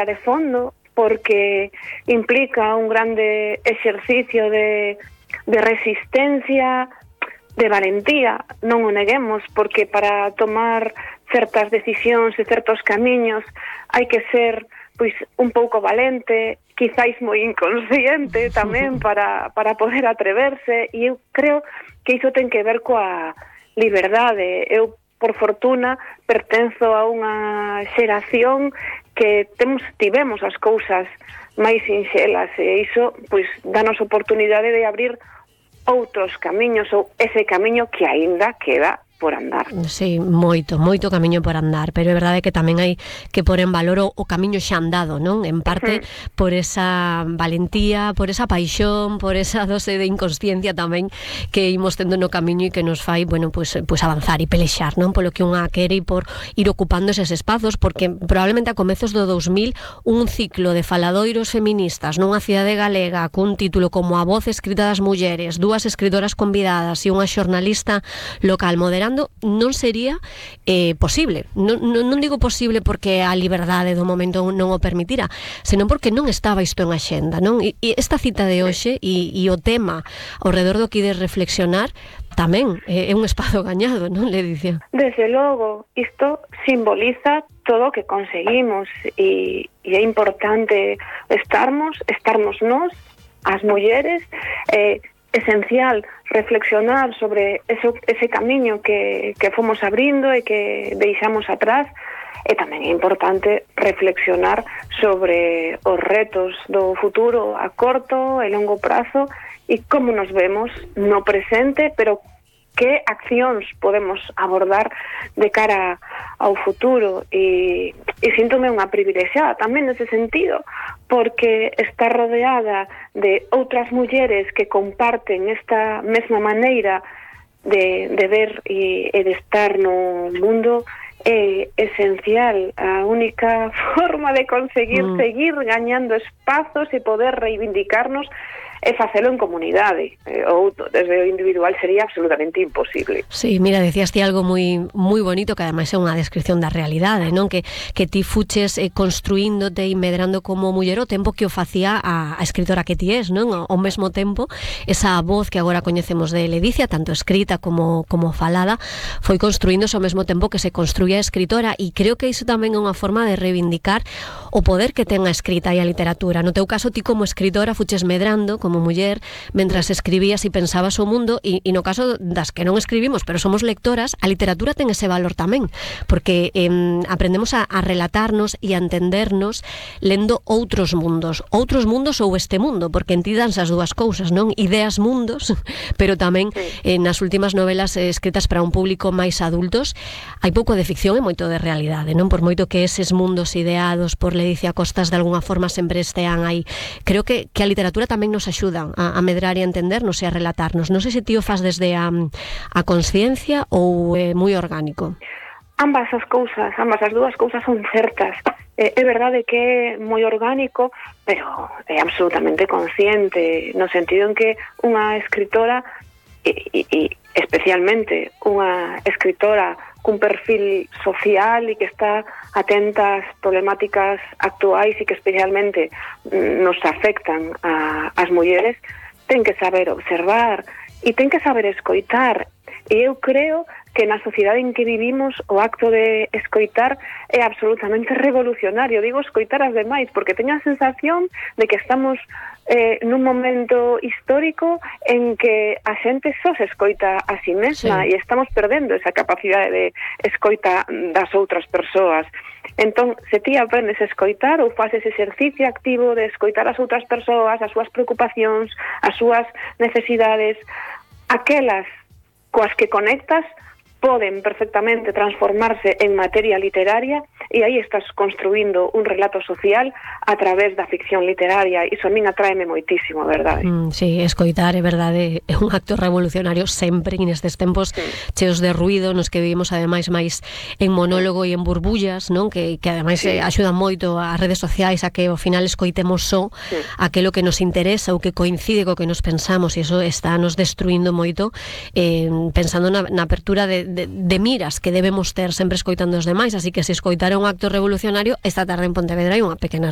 de fondo, porque implica un grande exercicio de resistencia, de valentía, non o neguemos, porque para tomar certas decisións e certos camiños hai que ser pois un pouco valente, quizáis moi inconsciente tamén para poder atreverse, e eu creo que iso ten que ver coa liberdade. Eu, por fortuna, pertenzo a unha xeración que tivemos as cousas máis sinxelas, e iso pois danos oportunidade de abrir outros camiños, ou ese camiño que aínda queda por andar. Sí, moito camiño por andar, pero é verdade que tamén hai que pôr en valor o camiño xa andado, non? En parte por esa valentía, por esa paixón, por esa dose de inconsciencia tamén que imos tendo no camiño e que nos fai, bueno, pues avanzar e pelexar, non? Polo que unha quere e por ir ocupando eses espazos, porque probablemente a comezos do 2000 un ciclo de faladoiros feministas nunha cidade galega cun título como A voz escrita das mulleres, 2 escritoras convidadas e unha xornalista local moderada non sería posible. Non digo posible porque a liberdade do momento non o permitira, senón porque non estaba isto en axenda, non? E esta cita de hoxe e o tema ao redor do que ides reflexionar tamén é un espazo gañado, non, Ledicia? Desde logo, isto simboliza todo o que conseguimos, e é importante estarmos nós, as mulleres, esencial reflexionar sobre ese camiño que fomos abrindo e que deixamos atrás, e tamén é importante reflexionar sobre os retos do futuro a corto e longo prazo e como nos vemos no presente, pero que accións podemos abordar de cara ao futuro, e síntome unha privilexiada tamén nese sentido, porque está rodeada de outras mulleres que comparten esta mesma maneira de ver e de estar no mundo. É esencial, a única forma de conseguir seguir gañando espazos e poder reivindicarnos é facelo en comunidade, ou desde o individual sería absolutamente imposible. Sí, mira, decías ti algo moi bonito, que ademais é unha descripción da realidade, non? Que ti fuches construíndote e medrando como muller o tempo que o facía a escritora que ti és, non? Ao mesmo tempo, esa voz que agora coñecemos de Ledicia, tanto escrita como falada, foi construíndose ao mesmo tempo que se construía a escritora, e creo que iso tamén é unha forma de reivindicar o poder que ten a escrita e a literatura. No teu caso, ti como escritora fuches medrando como muller, mentras escribías e pensabas o mundo, e no caso das que non escribimos, pero somos lectoras, a literatura ten ese valor tamén, porque aprendemos a relatarnos e a entendernos lendo outros mundos ou este mundo, porque en ti danse as dúas cousas, non? Ideas mundos, pero tamén nas últimas novelas escritas para un público máis adultos hai pouco de ficción e moito de realidade, non? Por moito que eses mundos ideados por Ledicia Costas de alguna forma sempre estean aí. Creo que a literatura tamén nos axuda a medrar e a entendernos e a relatarnos. Non sei se ti o faz desde a consciencia ou é moi orgánico. Ambas as dúas cousas son certas. É verdade que é moi orgánico, pero é absolutamente consciente, no sentido en que unha escritora, e especialmente unha escritora cun perfil social e que está atenta ás problemáticas actuais e que especialmente nos afectan ás mulleres, ten que saber observar e ten que saber escoitar. E eu creo que na sociedade en que vivimos o acto de escoitar é absolutamente revolucionario. Digo escoitar as demais porque teño a sensación de que estamos nun momento histórico en que a xente só se escoita a si mesma, e estamos perdendo esa capacidade de escoita das outras persoas. Entón, se ti aprendes a escoitar ou faces ese exercicio activo de escoitar as outras persoas, as súas preocupacións, as súas necesidades, aquelas coas que conectas poden perfectamente transformarse en materia literaria, e aí estás construindo un relato social a través da ficción literaria. Iso a min atráeme moitísimo, a verdade. Sí, escoitar, é verdade, é un acto revolucionario sempre, e nestes tempos cheos de ruido, nos que vivimos ademais máis en monólogo e en burbullas, non? Que ademais axudan moito as redes sociais a que ao final escoitemos só aquilo que nos interesa ou que coincide co que nos pensamos, e iso está nos destruindo moito, pensando na apertura de miras que debemos ter sempre escoitando os demais. Así que se escoitar é un acto revolucionario, esta tarde en Pontevedra hai unha pequena